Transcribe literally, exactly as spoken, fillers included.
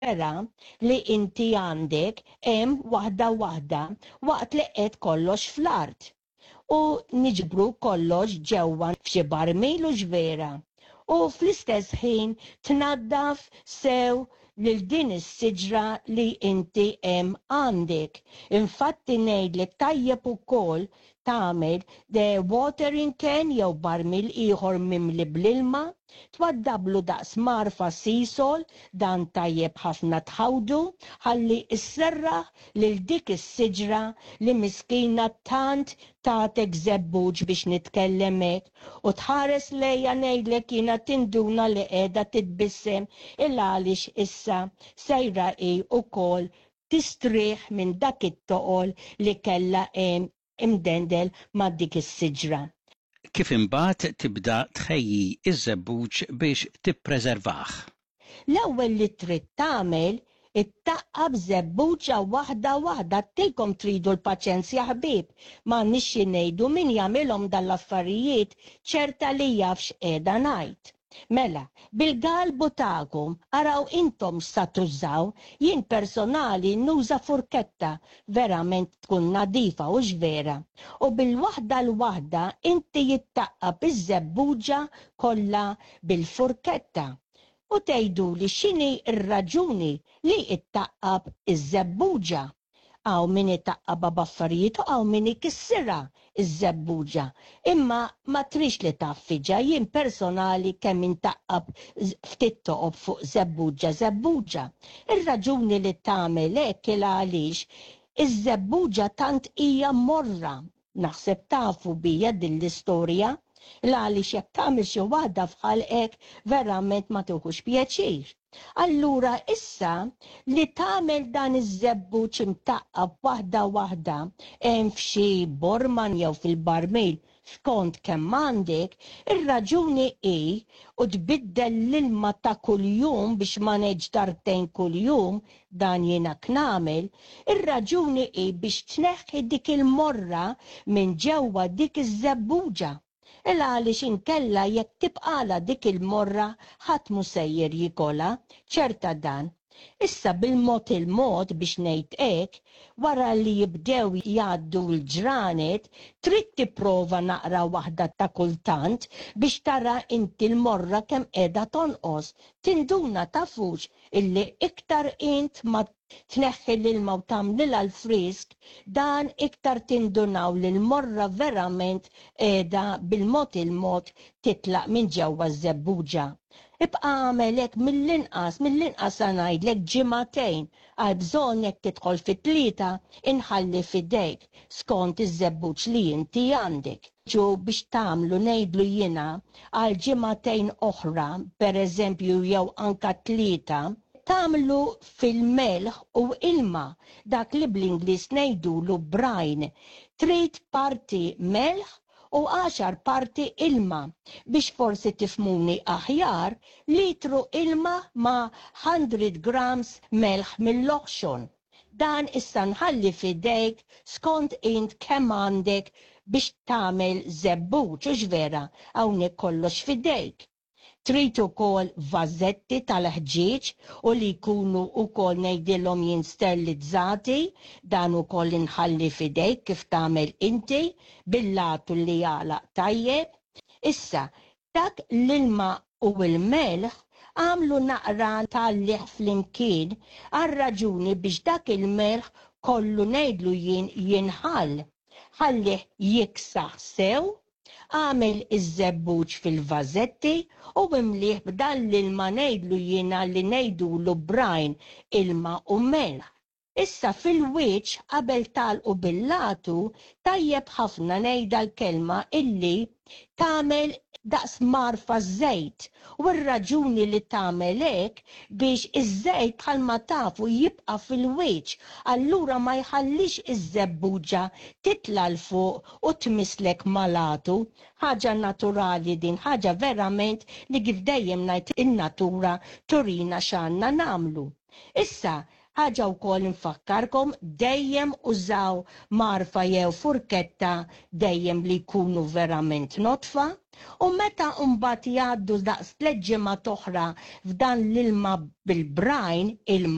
Fergħa li inti għandek hemm waħda waħda waqt li qed kollox fl-art. U niġbru kollox ġewwa f'xi barmil, hux vera? U fl-istess ħin tnaddaf sew lil din is-siġra li inti hemm għandek. Infatti ngħidlek, tajjeb ukoll tagħmel the watering can jew barmil ieħor mimli bl-ilma, twaddablu daqs mgħarfa Seasol, dan tajjeb ħafna tħawdu, ħalli isserraħ lil dik is-siġra li miskina tant tatek żebbuġ, biex nitkellem hekk, u tħares lejja, ngħidlek jiena, tinduna li qiegħda titbissem il għaliex issa sejra hi wkoll tistrieħ minn dak it-toqol li kellha hemm imdendel ma' dik is-siġra. Kif imbagħad tibda tħejji iż-żebbuġ biex tippreservah? L-ewwel li trid tagħmel, ittaqqab żebbuġa waħda waħda. Tilkom tridu l-paċenzja, ħbieb, ma nixxi ngħidu, min jagħmilhom dal-affarijiet ċerta li jaf x'qiegħda ngħid. Mela, bil-galbu tagħkom, araw intom sa tużaw, jien personali nuża furketta, verament tkun nadifa, hux vera? U bil-waħda l-waħda inti jittaqqab iż-żebbuġa kollha bil-furketta. U tgħidu li x'inhi r-raġuni li ittaqqab iż-żebbuġa? Hawn min itaqqabha b'affarijiet u hawn min ikissirha iż-żebbuġa. Imma ma trix li taffiġa, jien personali kemm intaqqab ftit toqob fuq żebbuġa żebbuġa. Ir-raġuni li tagħmel hekk il għaliex iż-żebbuġa tant hija morra. Naħseb tafu bija din l-istorja, l għaliex jekk tagħmel xi waħda f'ħalqek verament ma tuħux pjaċir. Allura issa li tagħmel dan iż-żebbuġ imtaqqab waħda waħda hemm f'xi borman jew fil-barmil skont kemm għandek, ir-raġuni hi u tbiddel l-ilma ta' kuljum, biex ma ngħidx darbtejn kuljum, dan jiena nagħmel, ir-raġuni hi biex tneħħi dik il-morra minn ġewwa dik iż-żebbuġa. Il għaliex inkella jekk tibqala dik il-morra, ħadd mu sejjer jikolha, ċerta dan. Issa bil-mod il-mod, biex ngħid hekk, wara li jibdew jgħaddu l-ġranet, trid tipprova naqra waħda ta' kultant biex tara inti l-morra kemm qiegħda tonqos. Tinduna, tafux, illi iktar int ma tneħħi l-ilma u tagħmlilha l-frisk, dan iktar tindunaw li l-morra verament qiegħda bil-mod il-mod titlaq minn ġewwa ż-żebbuġa. Ibqa' agħmel hekk mill-inqas, mill-inqas ngħidlek ġimagħtejn, għal bżonn jekk tidħol fit-tlieta, inħalli fidejk skont iż-żebbuġ li inti għandek. Ġu biex tagħmlu, ngħidlu jiena, għal ġimagħtejn oħra, per eżempju, jew anka tlieta, tagħmlu fil-melħ u ilma, dak li bl-Ingliż ngħidulu brine. Trid parti melħ u għaxar parti ilma. Biex forsi tifhmuni aħjar, litru ilma ma' mija grams melħ mill-oħxon. Dan issa nħalli fidejk skont int kemm għandek biex tagħmel żebbuġ, hux vera? Hawnhekk kollox fidejk. Trid ukoll vażetti tal-ħġieġ u li jkunu ukoll, ngħidilhom jien, sterilizzati, dan ukoll inħalli fidejk kif tagħmel inti bil-latu li jagħlaq tajjeb. Issa, dak l-ilma u l-melħ għamlu naqra tal-liħ flimkien għal raġuni biex dak il-melħ kollu, ngħidlu jien, jinħall. Ħallih jiksaħ sew, għamel iż-żebbuġ fil-vażetti u imlieh b'dan l-ilma, ngħidlu jiena, li ngħidulu brine, ilma u melħ. Issa fil-wiċċ, qabel tagħlqu bil-latu, tajjeb ħafna, ngħidha l-kelma, illi tagħmel daqs mgħarfa żejt, u r-raġuni li tagħmel hekk biex iż-żejt, bħalma tafu, jibqa' fil-wiċċ, allura ma jħallix iż-żebbuġa titla' 'l fuq u tmisslek mal-għatu. Ħaġa naturali din, ħaġa verament li, kif dejjem ngħid, in-natura turina x'għandna nagħmlu. Issa, ħaġa wkoll nfakkarkom, dejjem użaw mgħarfa jew furketta dejjem li jkunu verament nodfa, u meta mbagħad jgħaddu daqs tliet ġimgħat oħra f'dan l-ilma bil-brine, ilma